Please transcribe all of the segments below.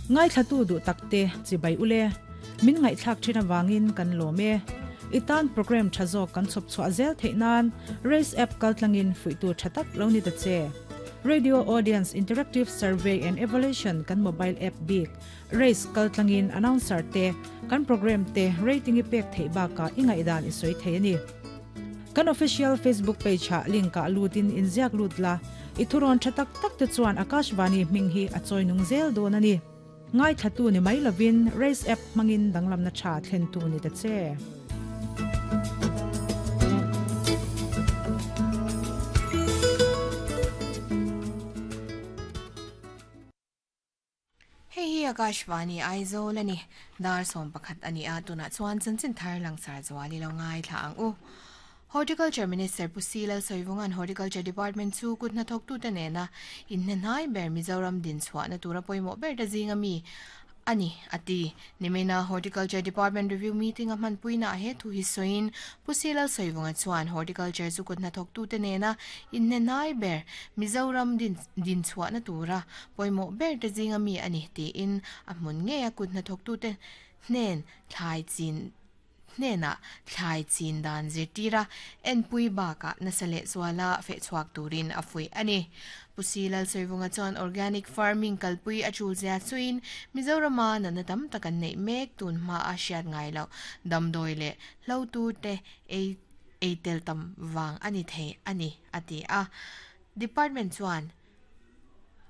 Ngaithlatu duh takte chibai ule. Min ngaihthlak thin avangin kan lawm e. I tan program tha zawk kan chhawp chhuah zel theih nan Race app kaltlangin fuihtu tha tak lo ni ta che. Radio Audience Interactive Survey and Evaluation kan mobile app bik Race kaltlangin announcer te kan program te rating i pek theih bakah i ngaihdan i sawi thei a ni. Kan official Facebook page ah link ah lutin inziak lut la, i thurawn tha tak tak te chuan Akashvani hming hi a chawi nung zel dawn a ni. Ngaithlatu ni mai lovin Race app hmangin danglamna tha thlentu ni ta che. Hei hi Akashvani Aizawl a ni. Dar 11 a ni a, tunah chuan chanchin thar langsar zual i lo ngaithla ang u. Horticulture Minister Pu Si Lalsawivunga'n Horticulture Department chu kut hnathawktute nena inhnehnai ber Mizoram dinchhuahna tura pawimawh ber ta zinga mi a ni, a ti. Nimina Horticulture Department Review Meeting a hmanpuinaah he thu hi sawiin Pu Si Lalsawivunga chuan Horticulture chu kut hnathawktute nena inhnehnai ber Mizoram dinchhuahna tura pawimawh ber te zinga mi a ni tiin a hmun ngeia kut hnathawktute hnen thlai chin hnenah thlai chin dan zirtir a, enpui bakah nasa leh zuala fehchhuak turin a fuih a ni. Pu Si Lalsawivunga chuan organic farming kalpui a tul zia chuin Mizorama natna tam tak an neih mek tun hma a hriat ngai loh damdawi leh hlotu te ei ei tel tam vang a ni thei a ni, a ti a. Department chuan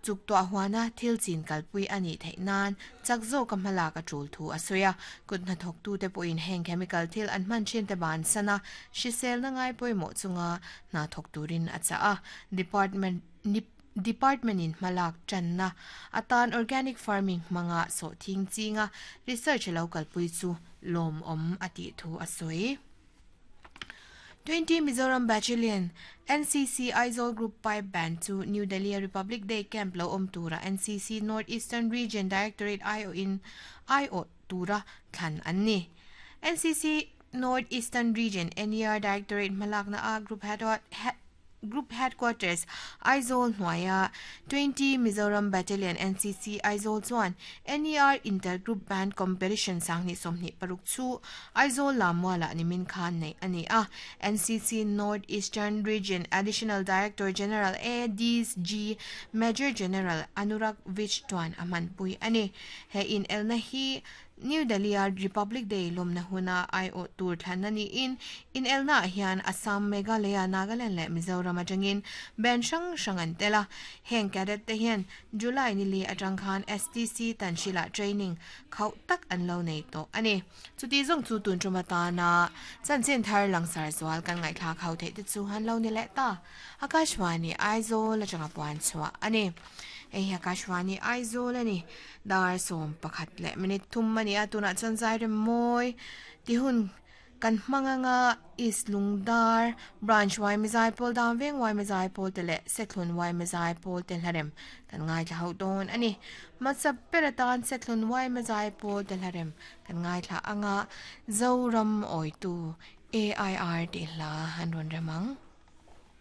Chuk tuah huana thil chin kalpui a nih theih nan chak zawka hmalak a tul thu a sawi a. Kut hnathawktute pawhin heng chemical thil an hman thin te bansan a, hriselna ngai pawimawh chunga hna thawk turin a chah a. Department Department-in hmalak tanna atan organic farming hmanga sawhthing chinga research a lo kalpui chu lawmawm a tih thu a sawi. 20 Mizoram Battalion, NCC Aizawl Group Pipe Band chu New Delhi-a Republic Day Camp lo awm tura NCC North Eastern Region Directorate aiawhin aiawh tura thlan an ni. NCC North Eastern Region, NER, Directorate hmalakna a Group Group Headquarters, Aizawl hnuaia 20 Mizoram Battalion NCC Aizawl chuan NER Inter Group Band Competition 2026 chu Aizawl Lammualah nimin khan neih a ni a. NCC North Eastern Region Additional Director General ADG Major General Anurag Vij chuan a hmanpui a ni. He inelna hi New Delhi-a Republic Day lawmna huna aiawh tur thlanna niin inelnaah hian Assam, Meghalaya, Nagaland leh Mizoram atangin band hrang hrang an tel a. Heng cadet te hian July ni li atang khan STC Tanhril-ah training khauh tak an lo nei tawh a ni. Chuti zawng chu tun tum atana chanchin thar langsar zual kan ngaihthlak ho theih te chu an lo ni leh ta. Akashvani Aizawl atanga puan chhuah a ni. Hei hi Akashvani Aizawl a ni. Dar 11 leh minute thum a ni a, tunah chuan zai rem mawi ti hun kan hmang anga East Lungdar Branch Yma Zaipawl Dan Veng Yma Zaipawl te leh Sethlun Yma Zaipawl te hlarem kan ngaithla hauh dawn a ni. Hmasa ber atan Sethlun Yma Zaipawl te hlarem kan ngaithla anga Zoram Awitu AIR tih hla an rawn rem ang.